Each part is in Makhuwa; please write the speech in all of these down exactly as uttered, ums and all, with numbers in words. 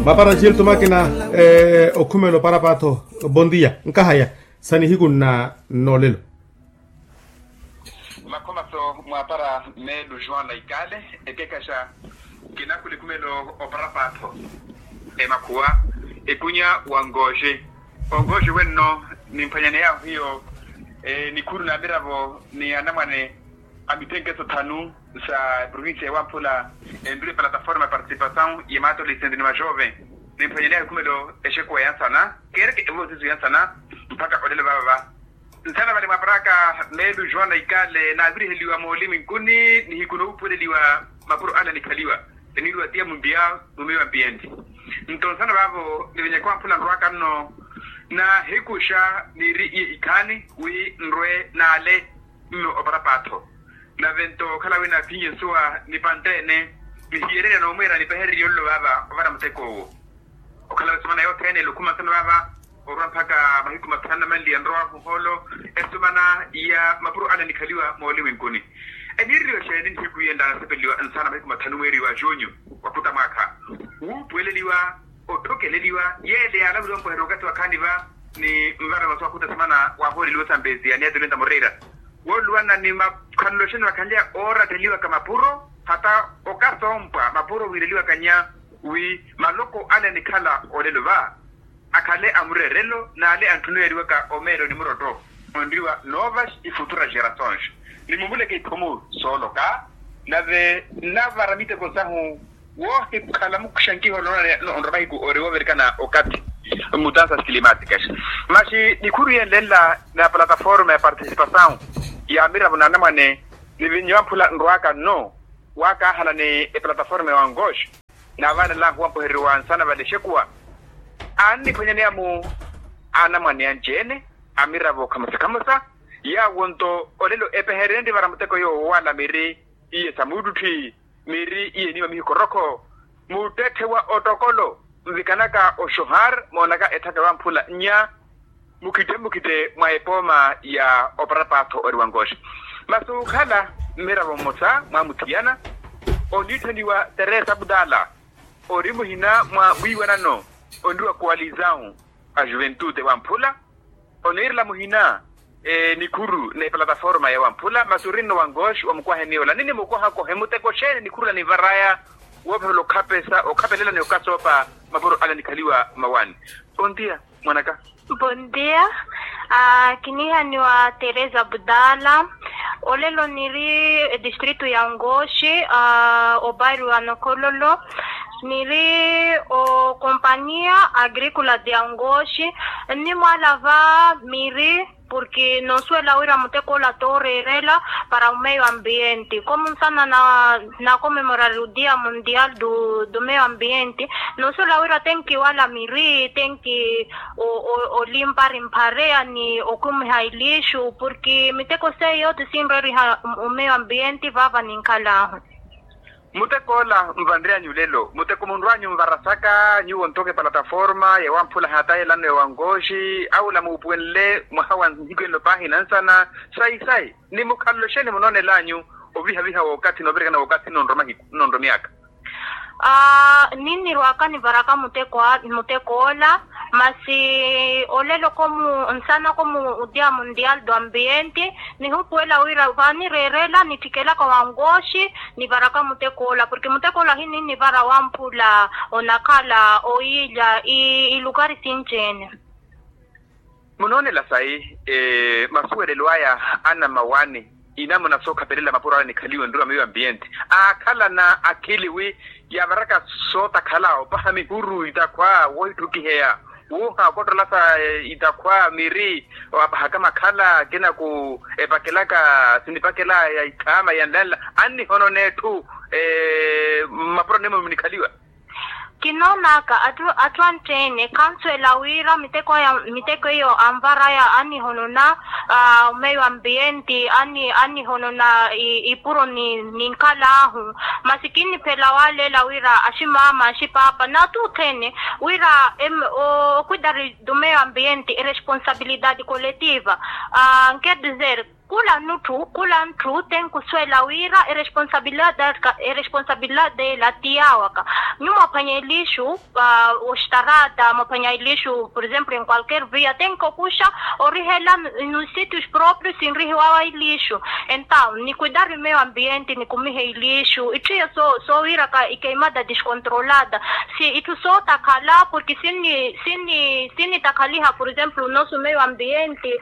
Mapara nchiltu makina okhumela oparapaatho. Bondia nkahaya sa nihiku nna nnoolelo. Makhomaso mwapara meelu juan na ikale ekekhaxa. Kinakhula ekhumelo oparapaatho emakhuwa ekunya wa ngooxi. Ongooxi wenno nimphwanyaneyahu hiyo nikhuru na miravo ni anamwane a mithenkeso thanu sa provincia ya wamphula. Enrule plataforma ya participasaw ya maatolesenti ni maxove. Nimphwanyaneyahu ekhumelo exekuwa ya nsana keereke evosiso ya nsana mpakha olelo vavava. Nsana vale mwaparaka meelu juan na ikale naaviriheliwa mooliminkuni nihiku noopuweleliwa mapuro ale anikhaliwa. Eniiriwa tiya mundiya mumeyi wa ambienti. Nto nsana vaavo nivenyaka wamphula nrwaka nno nahikuxa niiri iye ikhaani wi nrwe naale mme oparapaatho. Nave nto okhala wi naphinye nsuwa nipantte-ene nihiyererya noomweera nipehererye olelo vaava ovara muteko owo. Okhala esumana yothene elukhuma nsana vaava orwa mpakha mahiku mathanu namanliya nrowahu ohoolo esumana ya mapuro ale anikhaliwa mooliminkuni. Eniireriwa xeeni nihiku yenla nasepeleliwa nsana mahiku mathanu mweeri wa junyu wa khuta mwaakha wuupuweleliwa otthokeleliwa yeele yaalavuriwa mpoherya okathi wa khaani va ni nvara masu akhuta esumana waahooleliwa osampesiya ni atulenta moreira wooluwana ni makhalelo xeeni vakhanleya ooratteliwaka mapuro hata okasoompwa mapuro wiireliwaka nya wi maloko ale anikhala olelo va akhale a mureerelo n'ale antthuneyeriwaka omeelo ni murotto onriwa novas ifutura gerações. Nimuvuleke iphumu sooloka nave nnavara miteko sahu woohikhala muxankiho nonrwa mahiku ori woovirikana okathi mutansa silimatika masi nikhuru yenle nla na plataforma ya participasaw ya miravo n'anamwane. Nivinyo amphula nrwaka nno waakahala ni eplataforma ya wangoxi naavaanelaahu wampohereriwa nsana vale exekuwa anniphwanyaneya-mu anamwane anci-ene a miravo khamosa khamosa. Yaawo nto olelo epeherenrye vara muteko yoowo wala miiri iye sa muuttuttwi miiri iye eniima mihikorokho muttetthe wa ottokolo nvikanaka oxohar moonaka etthaka ewamphula nnya mukhitte mmukhitte mwa epooma ya oparapaatho ori wangoxi. Masi okhala mmiravo mmosa mwamuthiyana oniitthaniwa teresa abdala ori muhina mwa wiiwanano onriwa koalizawu a juventude wamphula oniirela muhina nikhuru n'eplataforma ya wamphula masi orinno wangoxi wa mukwahe niola ninimukwaha kohe muteko xeeni nikhuru la nivaraya woophavela okhapesa okhapelela ni okasoopa mapuro ale anikhaliwa mawani. Pontia mwanaka. Pontia. Kinihaniwa teresa budala olelo niri edistritu ya ngoxi obairwa nokhololo niri okompania agrikula de angoxi. Nnimwalava miri purki noosuwela wira mutekoola tooreerela para omeio ambienti komunsana na nakomemorari udia mundial du meio ambienti. Noosuwela wira tenki wala miri tenki olimpari mphareya ni okumiha ilixu purki miteko seiyo tisinreeriha omeio ambienti vaava ninkhalaahu. Muteko ola nvanry'anyu lelo muteko munrw'anyu nvarasaka nyuwo ntoke plataforma ya wamphula hatahelano ya wangoxi aula muupuwenle mwaha wa nhiku enlo paahi nansana sayi sayi ni mukhalelo xeeni munoonel'anyu ovihaviha w'okathi noovirikana w'okathi nnonrwa mahiku nnonrwa myaakha. Ninirwaka nivaraka muteko ola masi olelo komu nsana komu udia mundial do ambienti nihupuwela wira vaanireerela nittikelaka wangoxi nivaraka muteko ola purki muteko ola hininivara wamphula onakhala oyiilya ilukari sinci-ene. Munoonela sayi masuwelelo aya anamawani inamuna sookhapelela mapuro ale anikhaliwe nruma meio ambienti aakhalana akhili wi yaavaraka sootakhala opaha mihuru itakhwa woohitthukiheya wuuha okottolasa itakhwa miri apahaka makhala akinaku epakelaka sinipakela ya ikhaama ya nlanla annihonona etthu mapuro nimo munikhaliwa. Kinoonaka atthu atthu anttene khansuwela wira miteko iyo anvaraya annihonona omeio ambienti annihonona ipuro ninkhalaahu. Masi kinniphela waaleela wira aximaama axipaapa n'atthu otthene wira okwidari do meio ambienti eresponsabilidade coletiva. Quer dizer Khula ntthu khula ntthu tenkuswela wira eresponsabilidade ela ti yawaka. Nyuwo mwaphwanya eliixu, oxtarata mwaphwanya eliixu por exemplo en qualquer via tenkokuxa orihela, nos sitios proprios sinrihiwawa eliixu. Entaw nikuidari meio ambiente nikumiha eliixu itthu iyo sowiraka ikeimada descontrolada. Si itthu sootakhala porke sinni sinni sinnitakhaliha por exemplo nosso meio ambiente.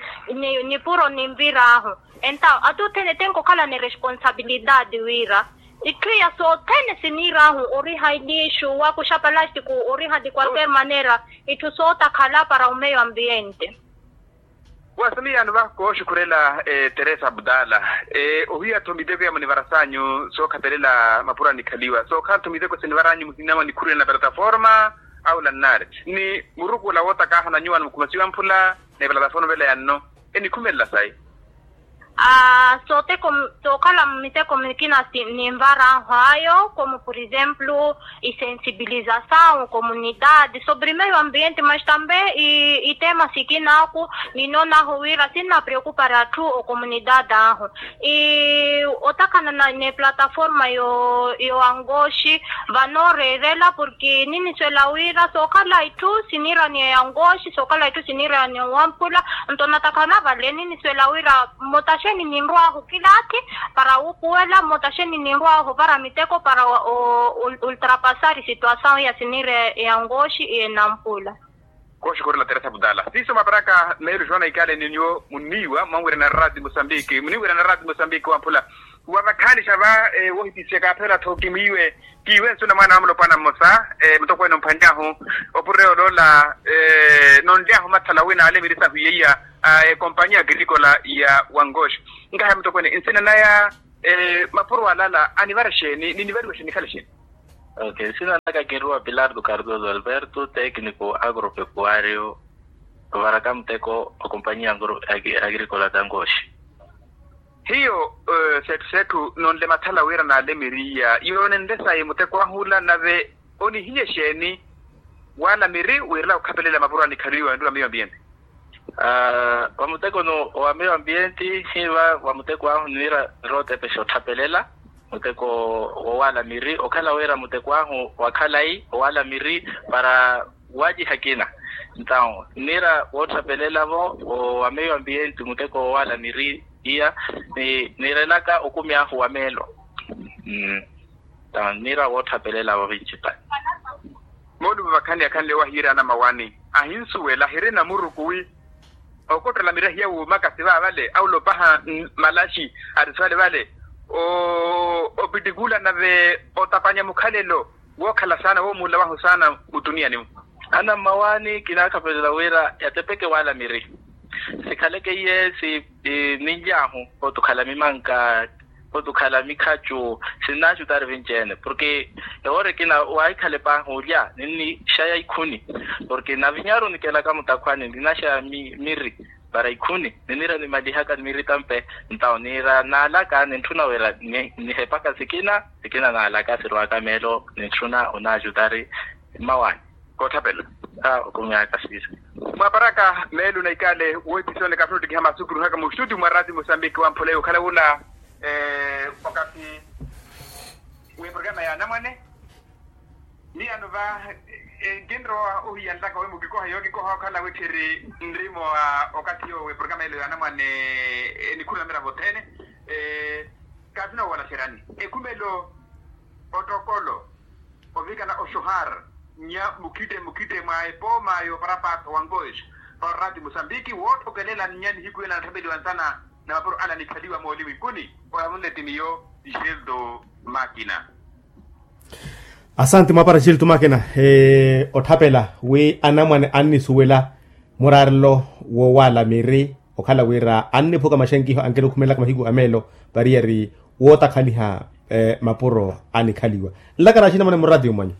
Nipuro ninvir'ahu. Entaw ati othene tenkokhala ni responsabilidade wira itthu iya sothene siniir'ahu oriha eliixu wakuxa palastiku oriha de qualquer manera. Itthu sootakhala para o meio ambiente. Wasomiyano va kooxukhurela teresa abdala. Ohiya-tho miteko ya munivarasanyu sookhapelela mapuro anikhaliwa sookhala-tho miteko sinivaranyu muhina mwa nikhurwene na plataforma, au lannari ni muruku ola wootakaaha na nyuwo animukhumasiwa mphula ni plataforma vela ya nno enikhumelela sayi. Sookhala miteko mikina ninvar'ahu ayo como por exemplo isensibilizasawu comunidade sobre meio ambiente mas tambe itema sikina aku. Ninoon'ahu wira sinnapreokupari atthu okomunidade ahu. Otakhana n'eplataforma y'owangoxi vanooreerela porke niniswela wira sookhala itthu siniiraniya y'angoxi sookhala itthu siniiraniya wamphula. Nto natakhala vale niniswela wira mmotaxeni ninrw'ahu kilaathi para wuupuwela mmotaxeni ninrw'ahu ovara miteko para ultrapasari situasawu ya siniiraniya y'angoxi y'enampula. Kooxukhurela teresa abdala siiso mwaparaka meelo joana ikale ni nyuwo munniiwa mwanwirana rati musambiki munniwirana rati musambiki wamphula. Wavakhaanixa va woohipisiya kaaphela-tho kimwiiwe kiiwe nsuna mwaana wa mulopwana mmosa mutokweene omphwany'ahu opureyolo ola nonly'ahu mathala wina ale miri sahu yeiya a ekompanya agrikola ya wangoxi. Nkahaya mutokweene nsina naya mapuro alala anivara xeeni ninivariwa xeeni nikhale xeeni? Ok nsina naka kinruwa pilardo cardoso alberto tekniko agropecuario. Ovaraka muteko okompanya agrikola tangoxi. Hiyo setthu setthu nonle mathala wira naale miriya yoonenle sayi muteko ahula nave onihiye xeeni? Wala miri wiirela okhapelela mapuro anikhaliwa nruwa meio ambiente. Wa muteko no wa meio ambiente hiva wa muteko ahu niira nrotepexa otthapelela muteko wowala miri okhala wira muteko ahu wa khalayi owala miri para waciha kina. Ntawu niira wootthapelelavo wa meio ambiente muteko wowala miri iya niirelaka okumi ahu wa meelo. Ntawu niira wootthapelelavo vincipale. Moolumo vakhanle akhanle owahiira anamawani ahinsuwela ahirina muruku wi okottela mirahiya wuumaka sivavale aulopaha malaxi ari sivale vale opittikula nave otapanya mukhalelo wookhala saana woomuula wahu saana mutuniyani-mu. Ana mmawaani kinaakhapelela wira yatepeke waala miri sikhaleke iye si ninly'ahu pooti okhala mimanka pooti okhala mikhacu sinnaaxutari vinci-ene porke ewoora ekina waahikhala epaahi olya ninnixaya ikhuni porke navinyaru nikelaka mutakhwani ninaxaya miri para ikhuni niniira nimalihaka miri tampe. Ntawo niira naalaka nintthuna wira nihepaka sikina sikina naalaka sirwaka meelo nintthuna onaaxutari mmawaani. Koothapela. Okumiaka siisa. Mwaparaka meelo na ikale wohipisoni kaphuna ottikiha masu kiruhaka mu studio mwa rati musambiki wamphula yokhala wula wakathi weprogramu ya anamwane. Niyano va nkinrowa ohiyanlaka wi mukikoha yookikoha okhala witthiri nrimo wa okathi yowo weprogramu elo ya anamwane enikhurula miravo othene. Kathuna wowalaxeryani ekhumelo otokolo ovikana oxuhar nya mukhitte mukhitte mwa epooma yooparapaatho wa nkoxi para orati musambiki woothokelela nya nihiku ela anatthapeliwa nsana na mapuro ala anikhaliwa mooliwinkuni. Oyamunle ti miyo gildo makina. Asante mwapara gildo makina. Otthapela wi anamwane annisuwela muraarelo wowaala miri okhala wira anniphuka maxenkiho ankirukhumela ka mahiku a meelo pariyari wootakhaliha mapuro anikhaliwa. Nlakara axinamwane muratiyo mwanyu.